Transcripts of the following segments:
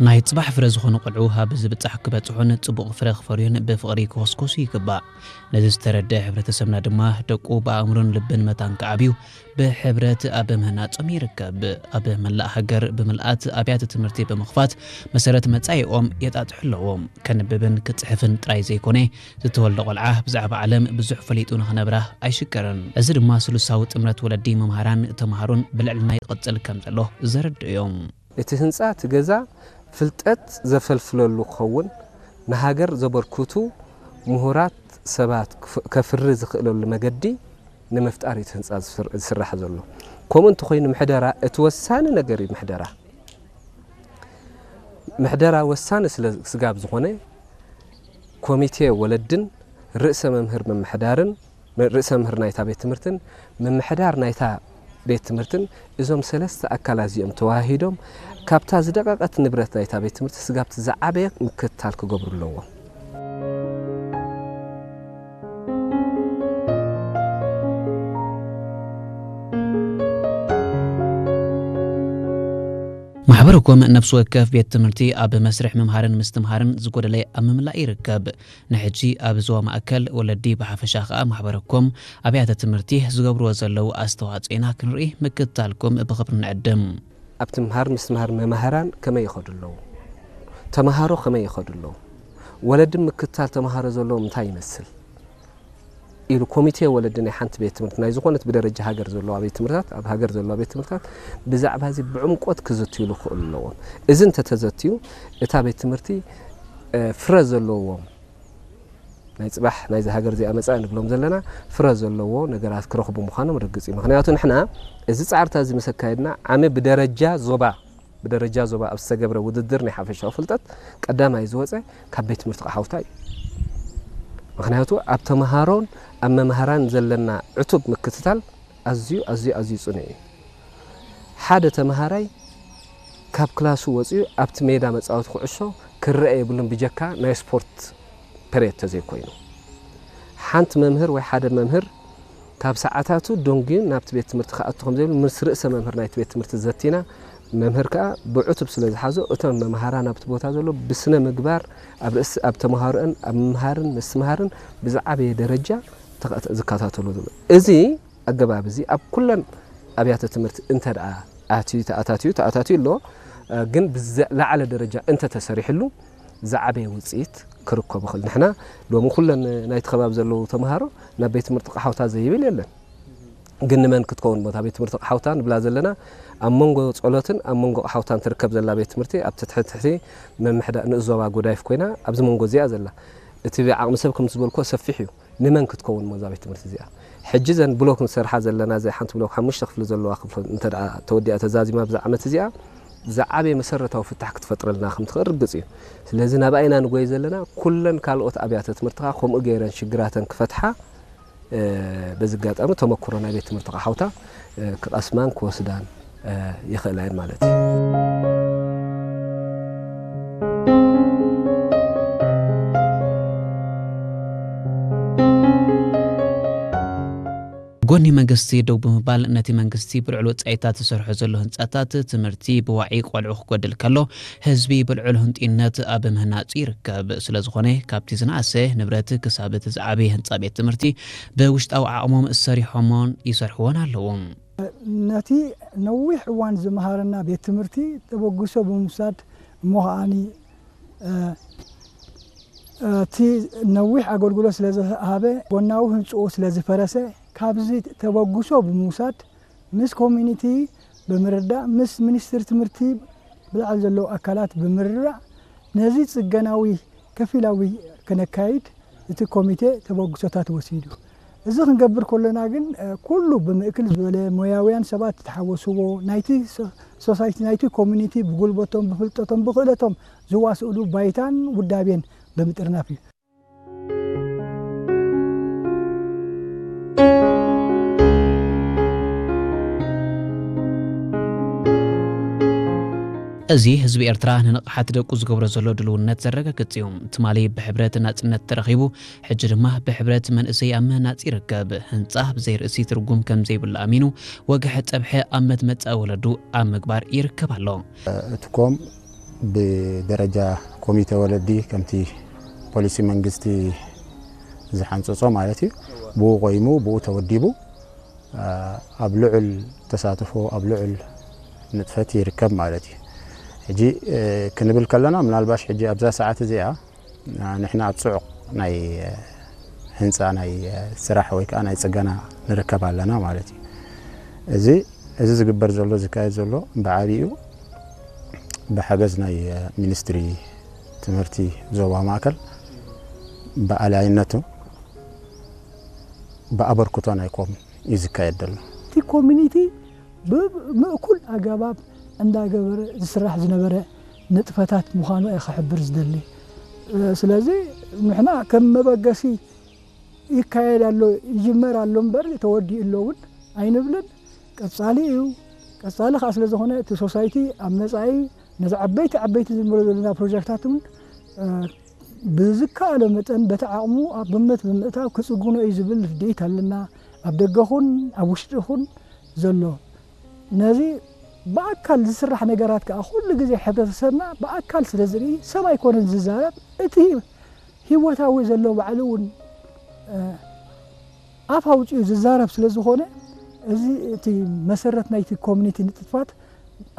ናይ ጽባሕ ፍረ ዝኾኑ ቆልዑ ኣብ ዝብጻሕ ክበጽሑን ጽቡቕ ፍረ ክፈርዩን ብፍቕሪ ክኾስኮሱ ይግባእ። ነዚ ዝተረድአ ሕብረተሰብና ድማ ደቁ ብኣእምሮን ልብን መታን ክዓብዩ ብሕብረት ኣብ ምህናጾም ይርከብ። ኣብ መላእ ሃገር ብምልኣት ኣብያተ ትምህርቲ ብምኽፋት መሰረት መጻኢኦም የጣጥሑ ኣለዎም። ከንብብን ክጽሕፍን ጥራይ ዘይኮነ፣ ዝተወልደ ቆልዓ ብዛዕባ ዓለም ብዙሕ ፈሊጡ ንኽነብራ ኣይሽገርን። እዚ ድማ ስሉሳዊ ጥምረት ወለዲ፣ መምሃራን ተምሃሮን ብልዕልና ይቕጽል ከም ዘሎ ዘረድኡ እዮም። እቲ ህንጻ፣ እቲ ገዛ ፍልጠት ዘፈልፍለሉ ክኸውን፣ ንሃገር ዘበርክቱ ምሁራት ሰባት ክፍ-፣ ከፍሪ ዝኽእለሉ መገዲ ንምፍጣር እዩ እቲ ህንጻ ዝስር-፣ ዝስራሕ ዘሎ። ከምኡ እንተኾይኑ ምሕደራ እቲ ወሳኒ ነገር እዩ። ምሕደራ፣ ምሕደራ ወሳኒ ስለ ስጋብ ዝኾነ ኮሚቴ ወለድን ርእሰ መምህር ምምሕዳርን ርእሰ መምህር ናይታ ቤት ትምህርትን ምምሕዳር ናይታ ቤት ትምህርትን፣ እዞም ሰለስተ ኣካላት እዚኦም ተዋሂዶም ካብታ ዝደቐቐት ንብረት ናይታ ቤት ትምህርቲ ስጋብቲ ዝዓበየ ምክትታል ክገብሩ ኣለዎም። ማሕበረኮም ነፍሲ ወከፍ ቤት ትምህርቲ ኣብ መስርሕ ምምሃርን ምስትምሃርን ዝጎደለ ኣብ ምምላእ ይርከብ። ንሕጂ ኣብ ዞባ ማእከል፣ ወለዲ ብሓፈሻ ከኣ ማሕበረኮም ኣብያተ ትምህርቲ ዝገብርዎ ዘለዉ ኣስተዋጽኦ ኢና ክንርኢ ምክትታልኩም ብኽብሪ ንዕድም። ኣብ ትምሃር ምስትምሃር መማህራን ከመይ ይኸዱ ኣለዉ? ተምሃሮ ከመይ ይኸዱ ኣለዉ? ወለዲ ምክትታል ተምሃሮ ዘለዎም እንታይ ይመስል? ኢሉ ኮሚቴ ወለዲ ናይ ሓንቲ ቤት ትምህርቲ፣ ናይ ዝኾነት ብደረጃ ሃገር ዘለዋ ቤት ትምህርታት፣ ኣብ ሃገር ዘለዋ ቤት ትምህርታት ብዛዕባ እዚ ብዕምቆት ክዝትዩሉ ክኽእሉ ኣለዎም። እዚ እንተተዘትዩ፣ እታ ቤት ትምህርቲ፣ እ፣ ፍረ ዘለዎም፣ ናይ ጽባሕ ናይዚ ሃገር እዚኣ መጻኢ ንብሎም ዘለና፣ ፍረ ዘለዎ ነገራት ክረኽቡ ምዃኖም ርግጽ እዩ። ምኽንያቱ ንሕና እዚ ጻዕርታት እዚ ምስ ኣካየድና፣ ዓሚ ብደረጃ ዞባ ብደረጃ ዞባ ኣብ ዝተገብረ ውድድር ናይ ሓፈሻዊ ፍልጠት ቀዳማይ ዝወጸ ካብ ቤት ትምህርቲ ቐሓውታ እዩ። ምኽንያቱ ኣብ ተምሃሮን ኣብ መምሃራን ዘለና ዕቱብ ምክትታል ኣዝዩ፣ ኣዝዩ፣ ኣዝዩ ጽኑዕ እዩ። ሓደ ተምሃራይ ካብ ክላሱ ወጺኡ ኣብቲ ሜዳ መጻወቲ ኩዕሾ ክረአ የብሉን፣ ብጀካ ናይ ስፖርት ፐሬድ ተዘይኮይኑ። ሓንቲ መምህር ወይ ሓደ መምህር ካብ ሰዓታቱ ደንጉዩ ናብቲ ቤት ትምህርቲ ክኣቱ ከም ዘይብሉ ምስ ርእሰ መምህር ናይቲ ቤት ትምህርቲ ዘቲና፣ መምህር ከኣ ብዕቱብ ስለ ዝሓዞ፣ እቶም መምሃራን ኣብቲ ቦታ ዘሎ ብስነ ምግባር ኣብ ርእሲ፣ ኣብ ተምሃሮአን ኣብ ምምሃርን ምስትምሃርን ብዝዓበየ ደረጃ ተኸ-፣ ዝከታተሉ ዘሎ። እዚ ኣገባብ እዚ ኣብ ኩለን ኣብያተ ትምህርቲ እንተ ደኣ ኣትዩ፣ ተኣታትዩ፣ ተኣታትዩ ኣሎ፣ ግን ብዝለዓለ ደረጃ እንተ ተሰሪሕሉ ዝዓበየ ውጽኢት ክርከቦ ይኽእል። ንሕና ሎሚ ኩለን ናይቲ ከባቢ ዘለዉ ተምሃሮ ናብ ቤት ትምህርቲ ቐሓውታ ዘይብል የለን። ግን ንመን ክትከውን እሞ እታ ቤት ትምህርቲ ቐሓውታ ንብላ ዘለና? ኣብ መንጎ ጸሎትን ኣብ መንጎ ቐሓውታን ትርከብ ዘላ ቤት ትምህርቲ፣ ኣብ ትሕቲ ትሕቲ ምምሕዳ-፣ ንኡስ ዞባ ጉዳይፍ ኮይና ኣብዚ መንጎ እዚኣ ዘላ። እቲ ዓቕሚ ሰብ ከም ዝበልኩዎ ሰፊሕ እዩ። ንመን ክትከውን እሞ እዛ ቤት ትምህርቲ እዚኣ? ሕጂ እዘን ብሎክ ንሰርሓ ዘለና፣ እዚ ሓንቲ ብሎክ ሓሙሽተ ክፍሊ ዘለዋ ክፍሊ እንተ ደኣ ተወዲኣ ተዛዚማ ብዛ ዓመት እዚኣ፣ ዝዓበየ መሰረታዊ ፍታሕ ክትፈጥረልና ከም ትኽእል ርግጽ እዩ። ስለዚ ናብኣ ኢና ንጎይ ዘለና። ኩለን ካልኦት ኣብያተ ትምህርቲ ከኣ ከምኡ ገይረን ሽግራተን ክፈትሓ፣ እ፣ በዚ ኣጋጣሚ ተመክሮ ናይ ቤት ትምህርቲ ቐሓውታ፣ እ፣ ክቐስማን ክወስዳን፣ እ፣ ይኽእላ እየን ማለት እዩ። ጎኒ መንግስቲ ደው ብምባል፣ ነቲ መንግስቲ ብልዑል ወጻኢታት ዝሰርሖ ዘሎ ህንጻታት ትምህርቲ ብዋዒ ቆልዑ ክጎድል ከሎ፣ ህዝቢ ብልዑል ህንጡይነት ኣብ ምህናጹ ይርከብ። ስለ ዝኾነ፣ ካብቲ ዝነኣሰ ንብረት ክሳብ እቲ ዝዓበየ ህንጻ ቤት ትምህርቲ ብውሽጣዊ ዓቕሞም ሰሪሖሞን ይሰርሕዎን ኣለዉ። ነቲ ነዊሕ እዋን ዝመሃረና ቤት ትምህርቲ ተበግሶ ብምውሳድ፣ እሞ ከዓኒ፣ እ፣ እቲ ነዊሕ ኣገልግሎት ስለ ዝሃበ፣ ጎናዊ ህንጽኡ ስለ ዝፈረሰ፣ ካብዚ ተበግሶ ብምውሳድ፣ ምስ ኮሚኒቲ ብምርዳእ፣ ምስ ሚኒስትሪ ትምህርቲ ብላዕሊ ዘለዉ ኣካላት ብምርዳእ፣ ነዚ ጽገናዊ ከፊላዊ ከነካይድ እቲ ኮሚቴ ተበግሶታት ወሲዱ። እዚ ክንገብር ከሎና ግን፣ እ፣ ኩሉ ብምእክል ዝበለ ሞያውያን ሰባት ዝተሓወስዎ፣ ናይቲ ሶ-፣ ሶሳይቲ፣ ናይቲ ኮሚኒቲ ብጉልበቶም፣ ብፍልጠቶም፣ ብኽእለቶም ዝዋስእሉ ባይታን ውዳቤን ብምጥርናፍ እዩ። እዚ ህዝቢ ኤርትራ ንንቕሓት ደቁ ዝገብሮ ዘሎ ድልውነት ዘረጋግጽ እዩ። ትማሊ ብሕብረት ናጽነት ተረኺቡ፣ ሕጂ ድማ ብሕብረት መንእሰይ ኣብ ምህናጽ ይርከብ። ህንጻ ብዘይ ርእሲ ትርጉም ከም ዘይብሉ ኣሚኑ፣ ወግሐ ጸብሐ ኣብ መትመጻኢ ወለዱ ኣብ ምግባር ይርከብ ኣሎ። እቲ ኮም ብደረጃ ኮሚቴ ወለዲ ከምቲ ፖሊሲ መንግስቲ ዝሓንፀፆ ማለት እዩ። ብኡ ቆይሙ ብኡ ተወዲቡ ኣብ ልዑል ተሳትፎ ኣብ ልዑል ንጥፈት ይርከብ ማለት እዩ። ሕጂ ክንብል ከለና ምናልባሽ ሕጂ ኣብዛ ሰዓት እዚኣ ንሕና ኣብ ፅዑቕ ናይ ህንፃ ናይ ስራሕ ወይ ከዓ ናይ ፅገና ንርከብ ኣለና ማለት እዩ። እዚ እዚ ዝግበር ዘሎ ዝካየድ ዘሎ ብዓብኡ ብሓገዝ ናይ ሚኒስትሪ ትምህርቲ ዞባ ማእከል ብኣላይነቱ ብኣበርክቶ ናይ ኮም እዩ ዝካየድ ዘሎ። እቲ ኮሚኒቲ ብምእኩል ኣገባብ እንዳገበረ ዝስራሕ ዝነበረ ንጥፈታት ምዃኑ እየ ክሕብር ዝደሊ። ስለዚ ንሕና ከም መበገሲ ይካየድ ኣሎ ይጅመር ኣሎ እምበር ተወዲኡ ኣሎ እውን ኣይንብልን። ቀጻሊ እዩ። ቀጻሊ ከዓ ስለ ዝኾነ እቲ ሶሳይቲ ኣብ መጻኢ ነዚ ዓበይቲ ዓበይቲ ዝንብሎ ዘለና ፕሮጀክታት እውን ብዝከኣሎ መጠን በቲ ዓቕሙ ኣብ ግምት ብምእታው ክጽግኖ እዩ ዝብል ርድኢት ኣለና። ኣብ ደገኹን ኣብ ውሽጥኹን ዘሎ ነዚ ብኣካል ዝስራሕ ነገራት ከዓ ኩሉ ግዜ ሕብረተሰብና ብኣካል ስለ ዝርኢ ሰብ ኣይኮነን ዝዛረብ። እቲ ህይወታዊ ዘሎ ባዕሉ እውን ኣፍ ኣውፂኡ ዝዛረብ ስለ ዝኾነ እዚ እቲ መሰረት ናይቲ ኮሚኒቲ ንጥፋት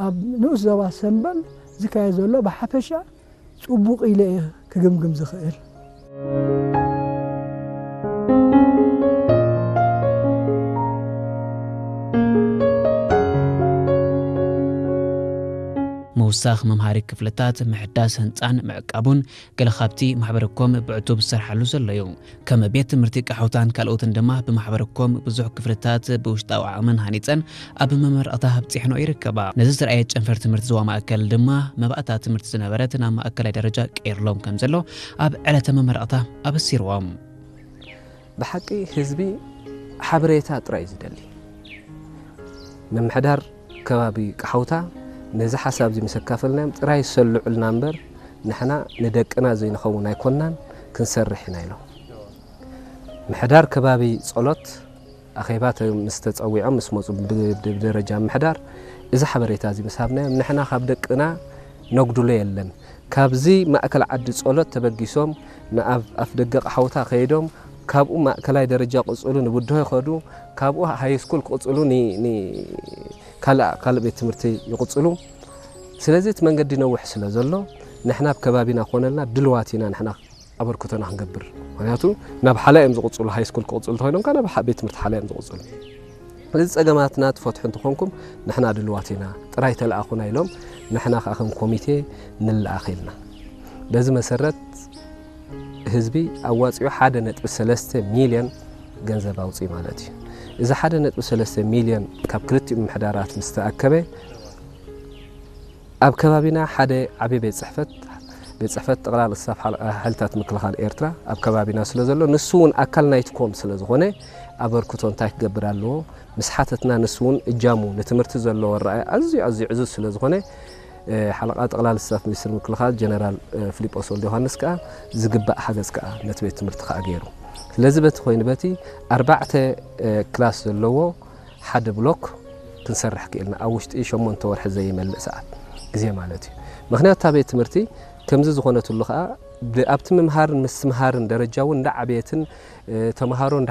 ኣብ ንኡስ ዞባ ሰምበል ዝካየድ ዘሎ ብሓፈሻ ጽቡቕ ኢለ እየ ክግምግም ዝኽእል። ምውሳኽ መምሃሪ ክፍልታት፣ ምሕዳስ ህንፃን ምዕቃቡን ገለ ካብቲ ማሕበረ ኮም ብዕቱብ ዝሰርሓሉ ዘሎ እዩ። ከም ቤት ትምህርቲ ቀሓውታን ካልኦትን ድማ ብማሕበረ ኮም ብዙሕ ክፍልታት ብውሽጣዊ ዓቕመን ሃኒፀን ኣብ መመረቕታ ኣብፂሕንኦ ይርከባ። ነዚ ዝረኣየ ጨንፈር ትምህርቲ ዞባ ማእከል ድማ መባእታ ትምህርቲ ዝነበረት ናብ ማእከላይ ደረጃ ቀይርሎም ከም ዘሎ ኣብ ዕለተ መመረቕታ ኣበሲርዎም። ብሓቂ ህዝቢ ሓበሬታ ጥራይ እዩ ዝደሊ። ምምሕዳር ከባቢ ቀሓውታ ነዚ ሓሳብ እዚ ምስ ኣካፈልናዮም ጥራይ ሰልዑልና እምበር ንሕና ንደቅና ዘይንኸውን ኣይኮንናን ክንሰርሕ ኢና ኢሎም። ምሕዳር ከባቢ ጸሎት ኣኼባ ምስ ተጸዊዖም ምስ መጹ ብደረጃ ምሕዳር እዚ ሓበሬታ እዚ ምስ ሃብናዮም ንሕና ካብ ደቅና ነጉድሎ የለን። ካብዚ ማእከል ዓዲ ጸሎት ተበጊሶም ንኣብ ኣፍ ደገ ቀሓውታ ከይዶም ካብኡ ማእከላይ ደረጃ ቅጽሉ ንብድሆ ይኸዱ ካብኡ ሃይስኩል ክቕጽሉ ካልእ ካልእ ቤት ትምህርቲ ይቕጽሉ። ስለዚ እቲ መንገዲ ነውሕ ስለ ዘሎ ንሕና ኣብ ከባቢና ኮነልና ድልዋት ኢና ንሕና ኣበርክቶና ክንገብር። ምክንያቱ ናብ ሓላ እዮም ዝቕጽሉ፣ ሃይስኩል ክቕጽሉ እንተኾይኖም ካብ ቤት ትምህርቲ ሓላ እዮም ዝቕጽሉ። ስለዚ ጸገማትና ትፈትሑ እንተኾንኩም ንሕና ድልዋት ኢና፣ ጥራይ ተለኣኹና ኢሎም ንሕና ከዓ ከም ኮሚቴ ንለኣኽ ኢልና። በዚ መሰረት ህዝቢ ኣዋፂኡ ሓደ ነጥቢ ሰለስተ ሚልዮን ገንዘብ ኣውፅእ ማለት እዩ። እዚ ሓደ ነጥቢ ሰለስተ ሚልዮን ካብ ክልቲኡ ምምሕዳራት ምስ ተኣከበ ኣብ ከባቢና ሓደ ዓብዪ ቤት ፅሕፈት ቤት ፅሕፈት ጠቕላላ ስታፍ ሓይልታት ምክልኻል ኤርትራ ኣብ ከባቢና ስለ ዘሎ ንሱ እውን ኣካል ናይቲ ኮም ስለ ዝኾነ ኣበርክቶ እንታይ ክገብር ኣለዎ ምስ ሓተትና ንሱ እውን እጃሙ ንትምህርቲ ዘለዎ ኣረኣእያ ኣዝዩ ኣዝዩ ዕዙዝ ስለ ዝኾነ ሓለቓ ጠቕላላ ስታፍ ሚኒስትር ምክልኻል ጀነራል ፊሊጶስ ወልደዮሃንስ ከኣ ዝግባእ ሓገዝ ከኣ ነቲ ቤት ትምህርቲ ከኣ ገይሩ። ስለዚ በቲ ኮይኑ በቲ ኣርባዕተ ክላስ ዘለዎ ሓደ ብሎክ ክንሰርሕ ክኢልና ኣብ ውሽጢ ሸሞንተ ወርሒ ዘይመልእ ሰዓት ግዜ ማለት እዩ። ምኽንያቱ እታ ቤት ትምህርቲ ከምዚ ዝኾነትሉ ከኣ ኣብቲ ምምሃርን ምስትምሃርን ደረጃ እውን እንዳዓበየትን ተምሃሮ እንዳ